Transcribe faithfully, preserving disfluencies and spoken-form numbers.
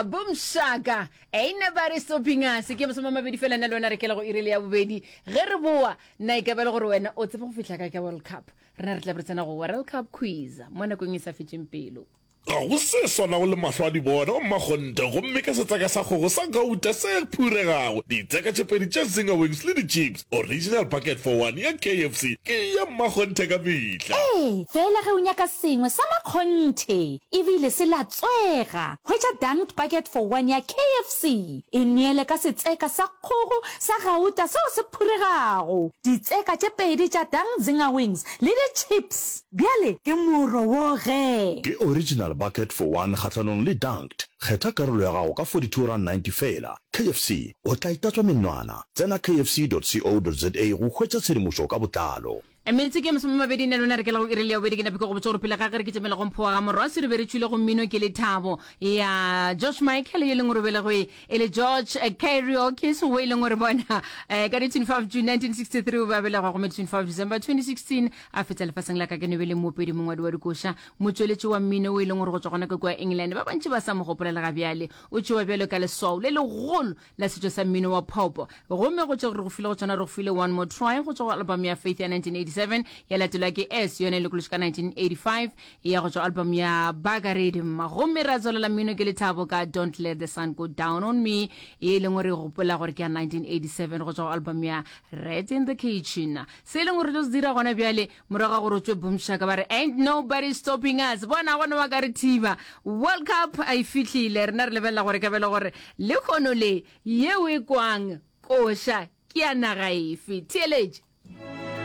Boom Shaka, Ain't Nobody Stopping Us. Ke masome a mabedi fela nna le wena re kela go iri le ya bobedi. Ge re boa, na e ka ba le gore wena o tseba go fihla kae ka World Cup? Rena re tla be re tsena go World Cup quiz mo nakong e sa fetšeng pelo. Ga go se swanago le mahlo a di bona, o mmakgonthe, gomme ka setseka sa kgogo sa gauta se phuregago, ditseka tše pedi tša Zinger Wings le di-chips, original bucket for one ya K F C ke ya mmakgonthe ka mehla. Ee, fela ge o nyaka sengwe sa makgonthe ebile se latswega, hwetša Dunked Bucket for One ya K F C. E neele ka setseka sa kgogo sa gauta seo se phuregago, ditseka tše pedi tša Dunked Zinger Wings le di-chips. Bjale ke moro wo ge. Ke original bucket for one kgahlanong le Dunked. Kgetha karolo ya gago ka forty-two rand ninety fela. K F C, o tla itatswa menwana. Tsena K F C dot co dot za go hwetša tshedimošo ka botlalo. Metse ke masome mabedi ne lona re kela go iri le ya bobedi. Ke nape ke go botša gore pele ga ge re ke tšamela go mphoa ga morwasi, re be re tšwile go mmino ke lethabo ya George Michael, ye leng gore belegwe e le George Kiriakis, wo e leng gore bona eh, ka di twenty-five June nineteen sixty-three o be a belegwa, gomme twenty-five December twenty sixteen a fetsa lefaseng la ka ke be le moopedi, mongwadi wa dikoša, motšweletši wa mmino, o e leng gore go tswa gona ka kua England. Ba bantši ba sa mo gopolela ga bjale. O tšewa bjalo ka leswao le legolo la setšo sa mmino wa pop. Gomme go tšwa re go file go tsona, re go file One More Try go tswa go album ya Faith ya nineteen eighty-seven, ya latelwa ke S, yone e lokološwe ka nineteen eighty-five, ya go tswa album ya Bagaredim. Gomme ra tswelela mmino ke lethabo ka Don't Let the Sun Go Down on Me, ye e leng gore gopola gore ke ya nineteen eighty-seven go tswa go album ya Rat in the Kitchen. Se e leng gore tlo se dira gona bjale, morago ga gore o tswe Boom Shaka ba re "Ain't Nobody Stopping Us", bona gona wa ka re thiba. World Cup a e fihlile, rena re lebelela gore ka bele gore le kgono le yeo e kwang koša ke ya naga efe. Theeletše.